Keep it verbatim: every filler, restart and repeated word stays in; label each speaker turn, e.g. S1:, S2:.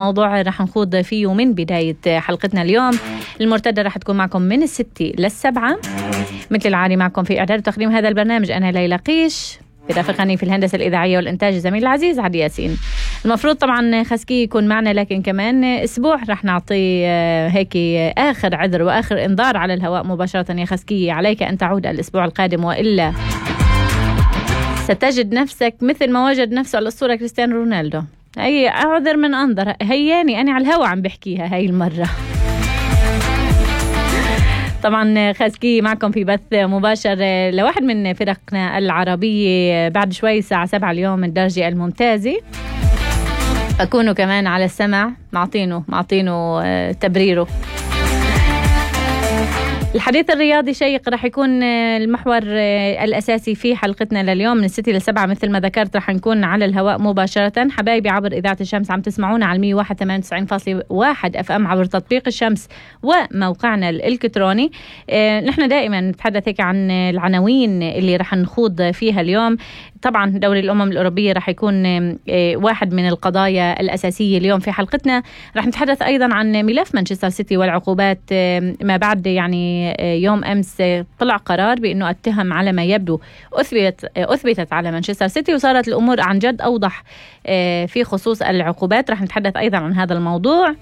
S1: موضوع رح نخوض فيه من بداية حلقتنا اليوم المرتدة رح تكون معكم من الستة للسبعة مثل العادي. معكم في إعداد وتقديم هذا البرنامج أنا ليلى قيش، برافقني في الهندسة الإذاعية والإنتاج الزميل العزيز عدي ياسين. المفروض طبعا خسكي يكون معنا، لكن كمان أسبوع رح نعطي هيك آخر عذر وآخر إنذار على الهواء مباشرة. يا خسكي عليك أن تعود الأسبوع القادم، وإلا ستجد نفسك مثل ما وجد نفسه الأسطورة كريستيانو رونالدو. هي أعذر من أنظر، هياني أنا على الهوا عم بحكيها هاي المرة. طبعا خاسكي معكم في بث مباشر لواحد من فرقنا العربية بعد شوي الساعة سبعة اليوم الدرجة الممتازة، فكونوا كمان على السمع معطينه معطينه تبريره. الحديث الرياضي شيق رح يكون المحور الأساسي في حلقتنا لليوم من الستة للسبعة. مثل ما ذكرت رح نكون على الهواء مباشرة حبايبي عبر إذاعة الشمس، عم تسمعونا على مية وواحد ثمانية وتسعين فاصلة واحد أف أم عبر تطبيق الشمس وموقعنا الإلكتروني. اه نحن دائما نتحدث هيك عن العناوين اللي رح نخوض فيها اليوم. طبعا دوري الأمم الأوروبية رح يكون اه واحد من القضايا الأساسية اليوم في حلقتنا. رح نتحدث أيضا عن ملف مانشستر سيتي والعقوبات اه ما بعد يعني يوم أمس طلع قرار بأنه التهم على ما يبدو أثبتت, أثبتت على مانشستر سيتي، وصارت الأمور عن جد أوضح في خصوص العقوبات. رح نتحدث أيضا عن هذا الموضوع.